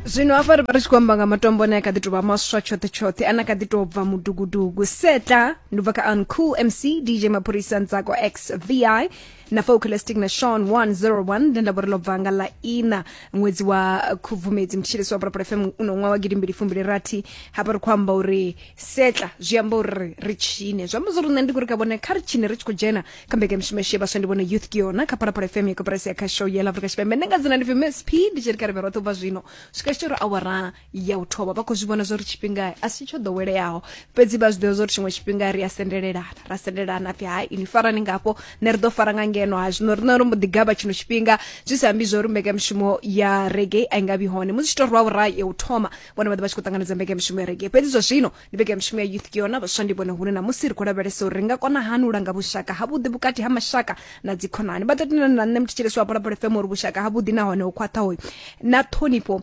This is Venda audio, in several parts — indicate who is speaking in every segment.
Speaker 1: Zwino hafha ri vha ri tshi khou amba nga matombo ane a kha ḓi tou vha maswa tshoṱhe tshoṱhe, ane a kha ḓi tou bva mudugudugu. Setla ndi u bva kha Uncool MC, DJ Maphorisa, Ntsako XVI na Focalistic na Sean 101. Nde nda vho ri ḽo bva nga ḽa ina ṅwedzi wa Khubvumedzi, mthetshelesi wa Phalaphala FM, uno ṅwaha wa 2026. Hafha ri khou amba uri setla zwi amba uri ri tshine, zwi amba zwa uri nṋe ndi khou ri kha vhone kha ri tshine ri tshi khou dzhena kha mbekanyamushumo yashu ya vhaswa ndi vhone Youth ke yona kha Phalaphala FM ya koporasi ya khasho ya ḽa Afrika Tshipembe. Nṋe nga dzina ndi pfi Miss P, ndi tshi ri kha ri vhe roṱhe u bva zwino swika tshi ri awara ya u thoma. Vha khou zwi vhona zwa uri tshifhinga a si tsho ḓoweleaho, fhedzi vha zwi ḓivha zwa uri tshiṅwe tshifhinga ri a sendelelana, ra sendelana pfi hai ini farani ngafho, nṋe ri ḓo fara nga ngeno. Ha zwino riṋe ro mbo ḓi gavha tshino tshifhinga, zwi sa ambi zwa uri mbekanyamushumo ya reggae a i nga vhi hone. Musi tshi to rwa awara ya u thoma, vhone vha ḓo vha tshi khou ṱanganedza mbekanyamushumo ya reggae, fhedzi zwa zwino ndi mbekanyamushumo ya Youth ke yona vhaswa ndi vhone, hune na musi ri khou lavhelesa uri ri nga kona hani u langa vhushaka havhuḓi vhukati ha mashaka na dzikhonani. Vha ḓo tendelana na nṋe muthetshelesi wa Phalaphala FM uri vhushaka havhuḓi nahone ho khwaṱhaho na ṱhonifho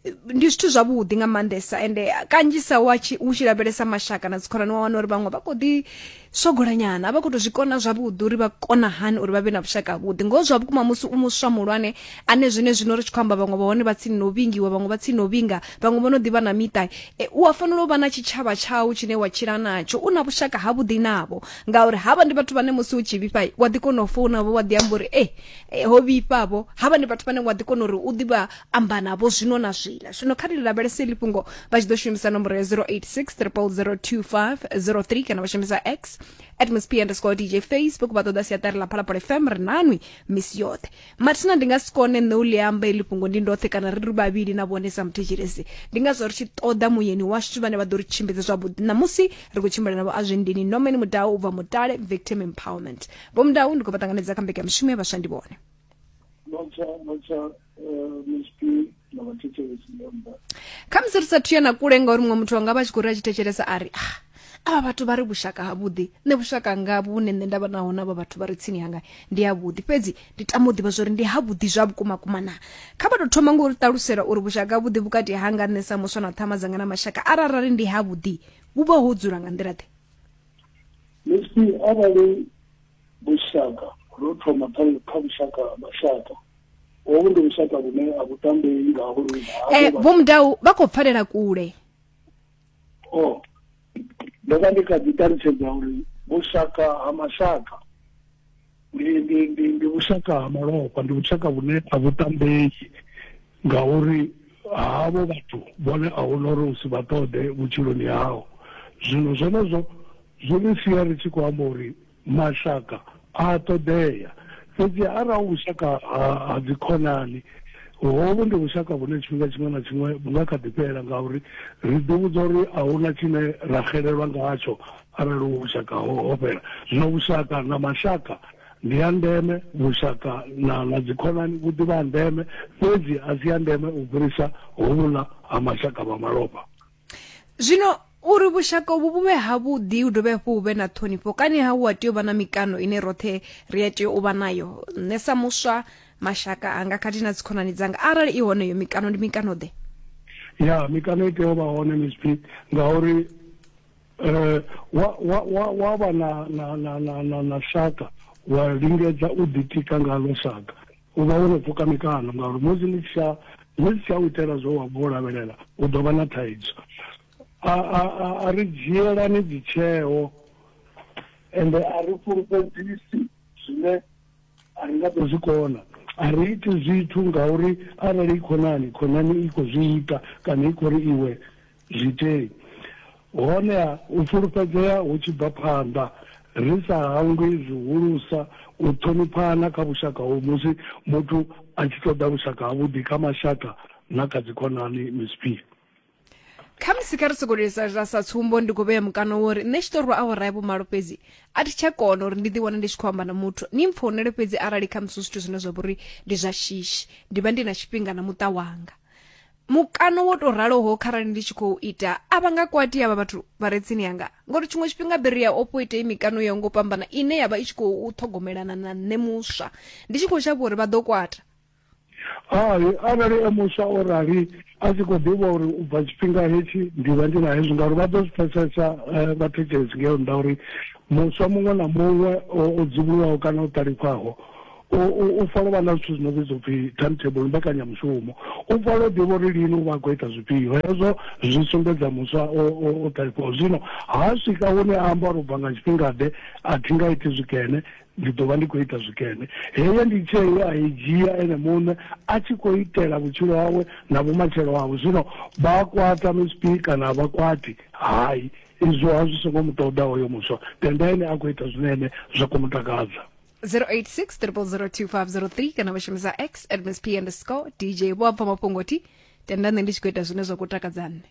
Speaker 1: ndi zwithu zwavhuḓi nga maanḓesa. Ende kanzhisa wa tshi u tshi lavhelesa mashaka na dzikhonani, wa wana uri vhaṅwe vha khou ḓi swogolanyana, a vha khou tou zwi kona zwavhuḓi uri vha kona hani uri vha vhe na vhushaka havhuḓi. Ngoho zwa vhukuma musi u muswa muhulwane ane zwine zwino ri tshi khou amba, vhaṅwe vha hone vha tsini no vhingiwa, vhaṅwe vha tsini no vhinga, vhaṅwe vho no ḓivha na miṱa, e, u a fanela u vha na tshitshavha tshau tshine wa tshila natsho, u na vhushaka havhuḓi navho, ngauri havha ndi vhathu vhane musi u tshi vhifha wa ḓi kona u founa vho, wa ḓi amba uri e ho vhifhavho. Havha ndi vhathu vhane wa ḓi kona uri u ḓi vha amba navho zwino na zwiḽa. Zwino kha ri lavhelese iḽi fhungo. Vha tshi ḓo shumisa nomboro ya 086 0002503 kana vha shumisa X at msp underscore DJ, Facebook vha ṱoḓa siaṱari ḽa Phalaphala FM. Ri nanwi misi yoṱhe. Mathina ndi nga si kone nṋe u ḽi amba iḽi fhungo ndi ndoṱhe kana ri ri vhavhili na vhone sa muthetshelesi, ndi ngazwo ri tshi ṱoḓa muyeni washu vhane vha ḓo ri tshimbidza zwavhuḓi. Ṋamusi ri khou tshimbila navho Azwindini Norman Mudau u bva Mutale Victim Empowerment. Vho Mudau, ndi khou vha ṱanganedza kha mbekanyamushumo ya vhaswa ndi vhone.
Speaker 2: Lotsha, lotsha, Miss P na vhathetshelesi nga nnḓa.
Speaker 1: Khamusi ri sathu ya na kule, ngauri muṅwe muthu anga vha tshi khou ri a tshi thetshelesa a ri, ah, avha vhathu vha ri vhushaka havhuḓi, nṋe vhushaka nga vhune nṋe nda vha naho na vha vhathu vha re tsini hanga ndi havhuḓi, fhedzi ndi tama u ḓivha zwori ndi havhuḓi zwa vhukuma kuma na. Kha vha tou thoma ngo ri ṱalusela uri vhushaka havhuḓi vhukati hanga nṋe sa muswa na ṱhama dzanga na mashaka, arali ndi havhuḓi, vhu vha ho dzula nga nḓila ḓe?
Speaker 2: Miss P, arali vhushaka ro thoma kha kha vhushaka ha mashaka, hovhu ndi vhushaka vhune a vhu tambei ngauri
Speaker 1: Vho Mudau, vha khou pfalela kule.
Speaker 2: O ndo vha ndi kha ḓi ṱalutshedza uri vhushaka ha mashaka ndi ndi ndi ndi vhushaka ha malofha, ndi vhushaka vhune a vhu tambei ngauri havho vhathu vhone a huna uri u si vha ṱoḓe vhutshiloni hao. Zwino zwenezwo zwi ri sia ri tshi khou amba uri mashaka a ṱoḓea, fhedzi arali hu vhushaka ha dzikhonani, hovhu ndi vhushaka vhune tshifhinga tshiṅwe na tshiṅwe vhu nga kha ḓi fhela, ngauri ri ḓi vhudza uri a huna tshine ra xelelwa ngatsho arali hu vhushaka ho fhela. Zwino vhushaka na mashaka ndi ya ndeme, vhushaka na na dzikhonani vhu ḓivha ha ndeme, fhedzi a si ya ndeme u fhirisa hovhuḽa ha mashaka vha malofha.
Speaker 1: Zwino uri vhushaka uvhu vhu vhe havhuḓi, hu dovhe hafhu hu vhe na ṱhonifho, kani ha hu a tea u vha na mikano ine roṱhe ri a tea u vha nayo, nṋe sa muswa, mashaka anga khathihi na dzikhonani dzanga? Arali i hone iyo mikano, ndi mikano ḓe?
Speaker 2: Ya, mikano i tea u vha hone, Miss P, ngauri wa wa wa wa vha na na na na na na shaka wa lingedza u ḓitika ngalo shaka, u vha wo no pfuka mikano, ngauri musi ḽi tshi tsha ḽi si tsha u itela zwo wa vho lavhelela, u ḓo vha na thaidzo. A a a ri dzhielani dzitsheo ende a ri fhulufhedzisi zwine a ri nga ḓo zwi kona. A ri iti zwithu ngauri arali i khonani, khonani i khou zwi ita kana i khou ri iwe zwi itei. Honeha u fulufhedzea hu tshi bva phanḓa, ri sa hangwi zwihulusa u ṱhoniphana kha vhushaka hovhu musi muthu a tshi ṱoḓa vhushaka havhuḓi kha mashaka na kha dzikhonani. Miss P.
Speaker 1: Khamusi kha ri sokou lisa sa tsumbo, ndi khou vhea mukano wo uri nṋe tshi tou rwa awara ya vhumalo fhedzi a thi tsha kona uri ndi ḓi wane ndi tshi khou amba na muthu. Ni mpfounele fhedzi arali khamusi zwithu zwine zwa vha uri ndi zwa shishi, ndi vha ndi na tshifhinga na muṱa wanga. Mukano wo tou raloho kharali ndi tshi khou ita, a vha nga kwati avha vhathu vha re tsini hanga, ngori tshiṅwe tshifhinga biri ya ofho ite mikano yo ngo fhambana ine ya vha i tshi khou ṱhogomelana na nṋe muswa, ndi tshi khou shavha uri vha ḓo kwata.
Speaker 2: Hai, arali e muswa o rali a tshi khou ḓivha uri u bva tshifhinga hetshi ndi vha ndi na hezwi, ngauri vha ḓo zwi pfesesa vhathetshelesi ngeo nnḓa uri muswa muṅwe na muṅwe o dzivhuluwaho kana o ṱalifhaho U fanela u vha na zwithu zwino vhidzwa upfhi timetable, mbekanyamushumo. U fanela u ḓivha uri lini u vha a khou ita zwifhio. Hezwo zwi sumbedza muswa o ṱalifhaho. Zwino ha swika hune a amba uri u bva nga tshifhingaḓe a thi nga iti zwikene, ndi ḓo vha ndi khou ita zwikene. Heyo ndi tsheo ye a i dzhia ene muṋe a tshi khou itela vhutshilo hawe na vhumatshelo hawe. Zwino vha a kwata Miss P kana a vha kwati? Hai, izwo ha zwi songo mu ṱoḓa hoyo muswa, tenda ene a khou ita zwine ene zwa khou mu takadza.
Speaker 1: 086 0002503 kana vha shumisa x at miss p underscore dj. Vho apfa mafhungo thi tenda nṋe ndi tshi khou ita zwine zwa khou takadza nṋe.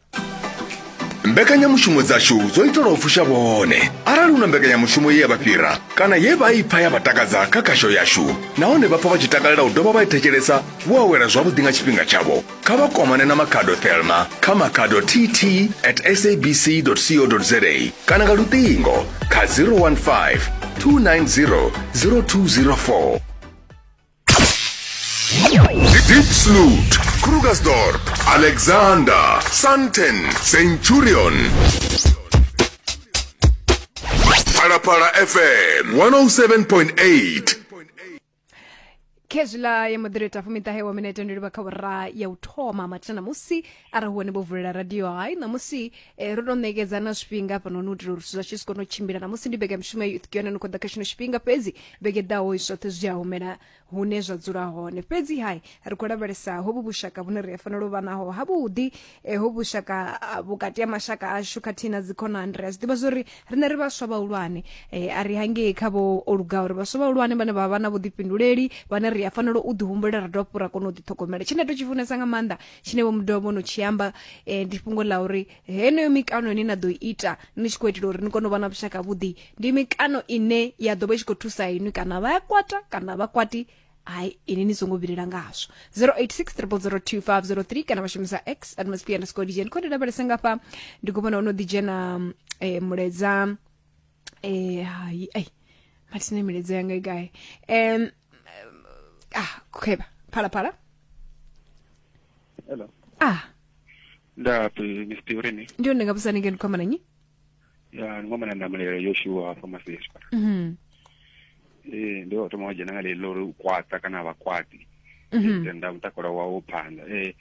Speaker 3: Mbekanyamushumo dzashu dzo itelwa u fusha vhone. Arali hu na mbekanyamushumo ye ya vha fhira kana ye vha i pfa ya vha takadza kha khasho yashu nahone vha pfa vha tshi takalela u dovha vha i thetshelesa vho awela zwavhuḓi nga tshifhinga tshavho, kha vha kwamane na Makhado Thelma kha makhado tt at sabc co za kana nga luṱingo kha 015 290 0204. Diepsloot, Krugersdorp, Alexander, Sandton, Centurion. Phalaphala FM 107.8.
Speaker 1: Khezwiḽa ya moḓireta fumiṱahe wa minete ndi livha kha vhura ya u thoma mathina ṋamusi arali hu hone vho vulela radio hai ṋamusi eh, ro tou ṋekedza na zwifhinga hafhanoni u itela uri zwithu zwashu zwi kone u tshimbila. Ṋamusi ndi mbekanyamushumo ya Youth Yone no khou ḓa kha tshino tshifhinga, fhedzi vhege ḓaho zwoṱhe zwi a humela hune zwa dzula hone. Fhedzi hai ri khou lavhelesa hovhu vhushaka vhune ri a fanela u vha naho havhuḓi, eh, hovhu vhushaka ah, vhukati ha mashaka ashu khathihi na dzikhonani. Ri a zwi ḓivha zwori riṋe ri vhaswa vhahulwane, eh, a ri hangei kha vho o lugaho, ri vhaswa vhahulwane vhane vha vha na vhuḓifhinduleli, vhane ri a fanela u ḓihumbulela ra dovha hafhu ra kona u ḓiṱhogomela. Tshine nda to tshi funesa nga maanḓa tshine vho Mudau vho no tshi amba, eh, ndi fhungo ḽa uri heneyo mikano ine na ḓo ita ni tshi khou itela uri ni kone u vha na vhushaka vhuḓi ndi mikano ine ya ḓo vha i tshi khou thusa inwi, kana vha ya kwata kana vha kwati, hai ini ni songo vhilela ngazwo. 086 0002503 kana vha shumisa x at msp underscore dj. Ndi khou ndi lavhelesa ngafha ndi khou vhona ono ḓi dzhena mulaedza, hai ai mathina milaedza yanga i gai? Ah khwevha phalaphala.
Speaker 4: Hello.
Speaker 1: Ah.
Speaker 4: Ndapi Miss Piurini.
Speaker 1: Ndi hone nga vhusani ngeno khomana nyi?
Speaker 4: Ya ndi ngomana ndamulelo Yoshua hafha Maseswa. Eh ndi wa thoma wa dzhena nga ḽeḽo uri u kwata kana vha kwati. Tenda mutakalo wawo phanḓa. Eh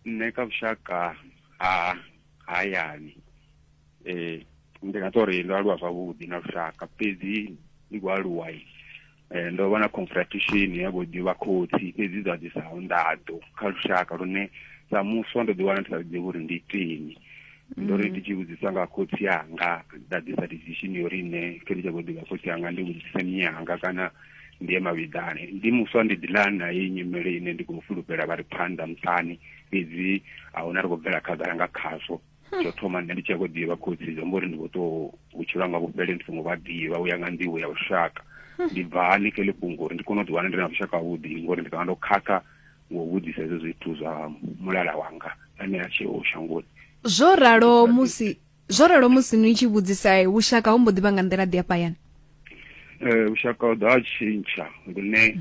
Speaker 4: nṋe kha vhushaka ha hayani eh ndi nga tori ndo aluwa zwavhuḓi na lushaka, fhedzi ndi khou aluwa ndo vha na confrontation ya vho ḓivha khotsi, fhedzi zwa ḓisa nḓaḓo kha lushaka lune sa muswa ndo ḓiwana ndi sa ḓivhi uri ndi iteni. Ndo ri ndi tshi vhudzisa nga khotsi anga nda ḓisa decision yo uri nṋe khe ndi tshi khou ḓivha khotsi anga ndi vhudzise mme anga kana ndi ye mavhiḓani. Ndi muswa ndi ḓiḽa na heyi nyimele ine ndi khou fulufhela vha ri phanḓa muṱani, fhedzi a huna ri khou bvela khagala nga khazwo. Tsho thoma nṋe ndi tshi khou ḓivha khotsi zwi amba uri ndi khou tou vhutshilo hanga vhufhele ndi songo vha ḓivha u ya nga nḓivho ya lushaka. Ndi bva hani kha heḽi fhungo uri ndi kone u ḓiwana ndi na vhushaka havhuḓi, ngori ndi ṱavha ndo khakha ngo vhudzisa hezwo zwithu zwa mulala wanga ane a tsheho shangoni.
Speaker 1: Zwo ralo musi zwo ralo musi ni tshi vhudzisa vhushaka ho mbo ḓi vha nga nḓila ḓi hafha hayani?
Speaker 4: Vhushaka ho ḓo ha tshintsha lune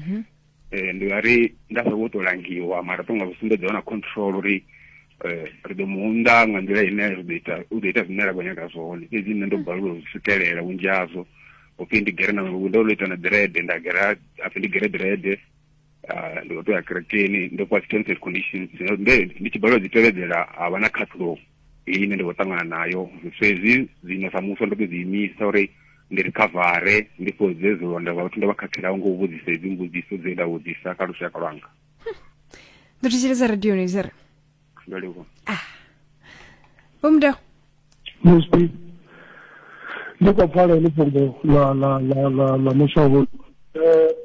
Speaker 4: ndi nga ri nda sa vho tou langiwa, mara tonga vhu sumbedza na control uri ri ḓo muunḓa nga nḓila ine ri ḓo ita u ḓo ita zwine ra khou nyaga zwone, fhedzi nṋe ndo balelwa u zwi swikelela vhunzhi hazwo. Upfhi ndi gere na ndo ita na dread, nda gera apfhi ndi gere dread, ndi khou tou ya kerekeni, ndo fhiwa dzi terms and conditions ndi tshi balelwa dzi tevhedzela ha vha na khaṱhulo ine ndi khou ṱangana nayo. So hezwi zwino sa muswa ndo tou ḓi imisa uri ndi rikhavare ndi fhodze zwilonda zwa vhathu ndo vha khakhelaho ngo u vhudzisa hedzi mbudziso dze nda vhudzisa kha lushaka lwanga.
Speaker 1: Ndo thetshelesa radioni zere.
Speaker 4: Ndo livhuwa.
Speaker 1: Vho Mudau.
Speaker 2: Miss P, ndi khou pfala heḽi fhungo ḽa ḽa ḽa ḽa ḽa muswa hoyu.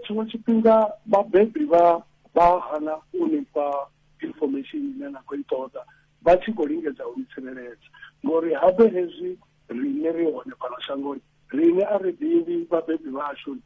Speaker 2: Tshiṅwe tshifhinga vhabebi vha vha hana u ni fha information ine na khou i ṱoḓa vha tshi khou lingedza u ni tsireledza, ngori habe hezwi riṋe ri hone fhano shangoni, riṋe a ri ḓivhi vhabebi vhashu.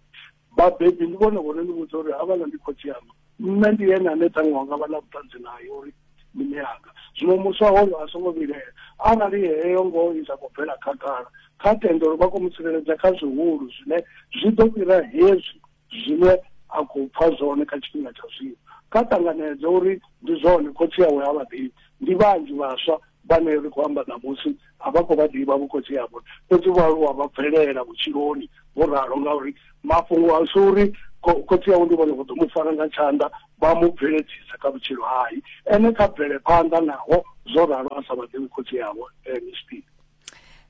Speaker 2: Vhabebi ndi vhone vhone ni vhudza uri havhaḽa ndi khotsi anga, nṋe ndi ene ane ṱhaṅwe wanga vha na vhuṱanzi naye uri ndi mme anga. Zwino muswa hoyo a songo vhilaela arali heyo ngoho i sa khou bvela khagala, kha tende uri vha khou mu tsireledza kha zwihulu zwine zwi ḓo fhira hezwi zwine a khou pfa zwone kha tshifhinga tsha zwino. Kha ṱanganedze uri ndi zwone khotsi awe ha vha ḓivhi. Ndi vhanzhi vhaswa vhane ri khou amba ṋamusi a vha khou vha ḓivha vhokhotsi avho, fhedzi vho aluwa vha bvelela vhutshiloni vho ralo, ngauri mafhungo a si uri Khotsi awe ndi vhone vho ḓo mu fara nga tshanḓa vha mu bveledzisa kha vhutshilo. Hai, ene kha bvele phanḓa naho zwo ralo a sa vha ḓivhi khotsi awe. Msp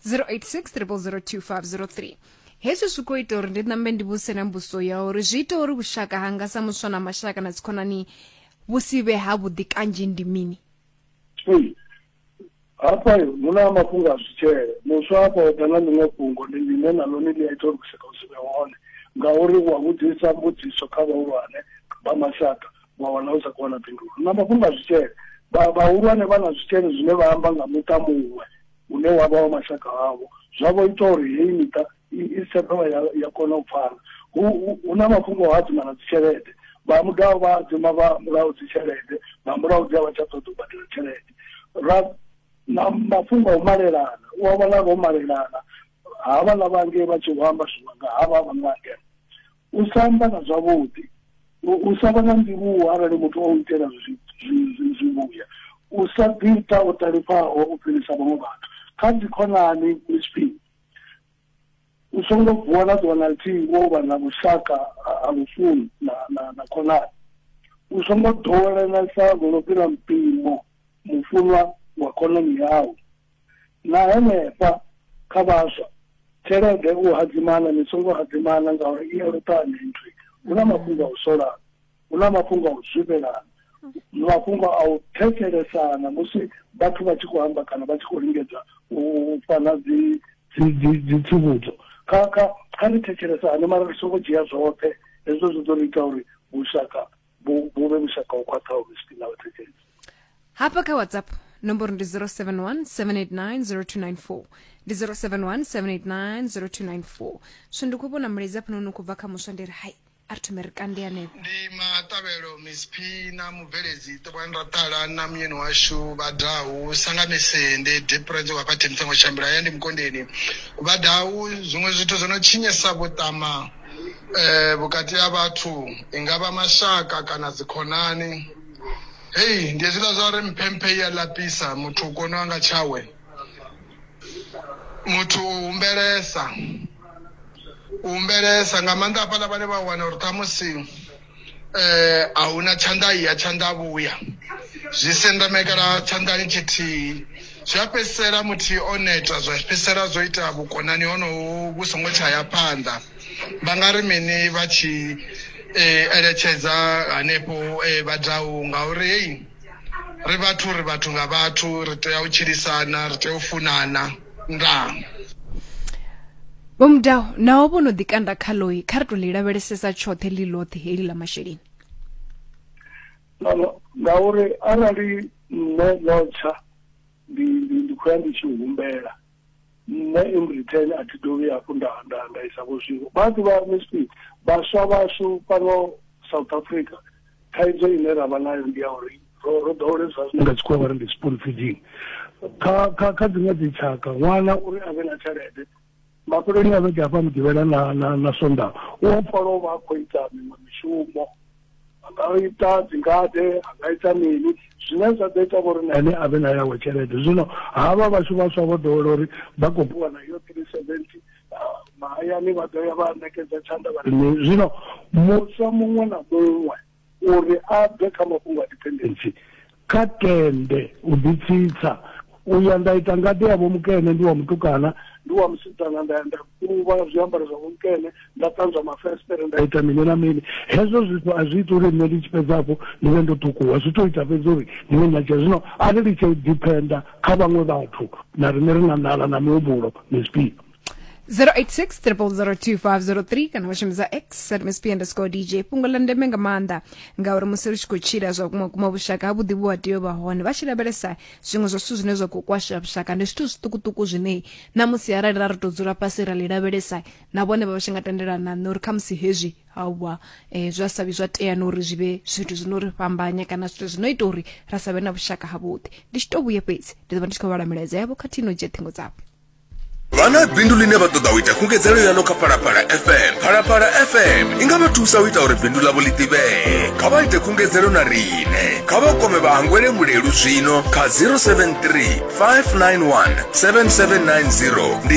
Speaker 1: 086 0002503. Hezwi zwi khou ita uri ndi ṋambe ndi vhuse na mbuso ya uri zwi ita uri vhushaka hanga sa muswa na mashaka na dzikhonani vhu si vhe havhuḓi kanzhi ndi mini?
Speaker 2: Hafha hu na mafhungo a zwitshele. Muswa hafha o ḓa na ḽiṅwe fhungo ndi ḽine na ḽone ḽi a ita uri vhushaka vhu si vhe hone, ngauri wa vhudzisa mbudziso kha vhahulwane vha mashaka wa wana u sa khou wana phindulo. Na mafhungo a zwitshele, vhahulwane vha na zwitshele zwine vha amba nga muṱa muṅwe une wa vha wa mashaka avho, zwa vho ita uri heyi miṱa i si tsha dovha ya kona u pfana. Hu na mafhungo a hadzima na dzitshelede, vha mudavhi vha hadzima vha murahu dzitshelede, vha murahu dzi a vha tsha ṱoḓa u badela tshelede. Ra na mafhungo a u malelana, u a vhona vho malelana havhaḽa vha ngei vha tshi vho amba zwiṅwe nga havha vha nga ngeno. U sa amba na zwavhuḓi, u sa vha na ndivhuwo arali muthu o itela zwivhuya, u sa ḓiita o ṱalifhaho u fhirisa vhaṅwe vhathu. Kha dzikhonani Msp, u songo vuwa na ḓuvha na ḽithihi wo vha na vhushaka ha lufuno na khonani. U songo ḓowelanesa lwo no fhira mpimo mufunwa wa khonani yau. Na henefha kha vhaswa, tshelede u hadzimana, ni songo hadzimana ngauri i a luṱanya nthu. Hu na mafhungo a u solana, hu na mafhungo a u zwifhelana, mafhungo a u thetshelesana musi vhathu vha tshi khou amba kana vha tshi khou lingedza u fana dzi tsivhudzo. Kha ri thetshelesane, mara ri songo dzhia zwoṱhe. Hezwo zwi ḓo ri ita uri vhushaka vhu vhe vhushaka ho khwaṱhaho na vhathetshelesi.
Speaker 1: Hafha kha WhatsApp nomboro ndi 071 789 0294, ndi 071 789 0294. So ndi khou vhona mulaedza hafhanoni u khou bva kha muswa, ndi ri hai, a ri thome ri kande hanefho.
Speaker 5: Ndi maṱavhelo Miss P na mubveledzi ṱokwani ra ṱala na muyeni washu Vhadau Sangamese. Ndi Deprence wa fha Mtsengo Shambula ya ndi Mukondeni. Vhadau, zwiṅwe zwithu zwo no tshinyesa vhuṱama vhukati ha vhathu, i nga vha mashaka kana dzikhonani, hei ndi hezwiḽa zwa uri mphemphe ya lapisa muthu u kona nga tshawe, muthu u humbelesa nga maanḓa hafhaḽa vhane vha wana uri ṱhamusi a huna tshanḓa iya tshanḓa vhuya, zwi sendamekela tshanḓani tshithihi, zwi a fhedzisela muthihi o neta, zwa fhedzisela zwo ita vhukonani honoho vhu songo tsha ya phanḓa. Vha nga ri mini vha tshi eletshedza hanefho Vhadau, ngauri hei ri vhathu, ri vhathu nga vhathu, ri tea u tshilisana, ri tea u funana. Ndaa.
Speaker 1: Vho Mudau, naho vho no ḓi kanda kha ḽoi, kha ri to ḽi lavhelesesa tshoṱhe ḽi ḽoṱhe heḽi ḽa masheleni.
Speaker 2: No, ngauri arali nṋe ḽo tsha ndi khou ya ndi tshi humbela, nṋe in return a thi dovhi hafhu nda isa vho zwiṅwe. Vha ḓivha Msp, vhaswa vhashu fhano South Africa, thaidzo ine ra vha nayo ndi ya uri ro ḓowele zwa zwine nga tshikhuwa vha ri ndi spoon feeding. Kha dziṅwe dzi tshaka, ṅwana uri a vhe na tshelede mafheloni a vhege hafha Mugivhela na Sondaha, u a pfala u vha a khou ita miṅwe mishumo, a nga ita dzingade, a nga ita mini zwine zwa ḓo ita uri na ene a vhe na yawe tshelede. Zwino havha vhashu vhaswa vho ḓowela uri vha khou fhiwa na iyo 370 mahayani, vha ḓo ya vha ṋekedza tshanḓa vha ri. Zwino muswa muṅwe na muṅwe uri a bve kha mafhungo a dependency, kha tende u ḓitsitsa, u ya nda ita ngade ya vho mukene, ndi wa mutukana, ndi wa musidzana, nda ya nda kuvha zwiambaro zwa vho mukene, nda ṱanzwa mafestere, nda ita mini na mini. Hezwo zwithu a zwi iti uri nṋe ndi tshi fhedza hafho ndi vhe ndo ṱukuwa, zwi to ita fhedzi uri ndi vhe na tsha. Zwino a ri litshe u dependa kha vhaṅwe vhathu, na riṋe ri na nḓala na mihumbulo Msp.
Speaker 1: 086 0002503 kana vha shumisa X at msp underscore DJ. Fhungo ḽa ndeme nga maanḓa, ngauri musi ri tshi khou tshila zwa vhukuma kuma, vhushaka ha vhuḓi vhu a tea u vha hone. Vha tshi lavhelesa zwiṅwe zwa zwithu zwine zwa khou kwasha vhushaka, ndi zwithu zwiṱukuṱuku zwine na musi arali ra ri tou dzula fhasi ra ḽi lavhelesa, na vhone vha vha tshi nga tendelana na nṋe uri khamusi hezwi hauwa zwa sa vhi zwa tea na uri zwi vhe zwithu zwino ri fhambanya kana zwithu zwino ita uri ra sa vhe na vhushaka havhuḓi. Ndi tshi to vhuye fhedzi ndi ḓo vha ndi tshi khou vhala milaedza yavho khathihi no dzhia ṱhingo dzavho.
Speaker 3: Vha na bindu ḽine vha ṱoḓa u ita khungedzelo yaḽo kha Phalaphala FM. Phalaphala FM i nga vha thusa u ita uri bindu ḽavho ḽi ḓivhee. Kha vha ite khungedzelo na riṋe. Kha vha kwame vha Hangwele Mulelu zwino kha 073 591 7790. Ndi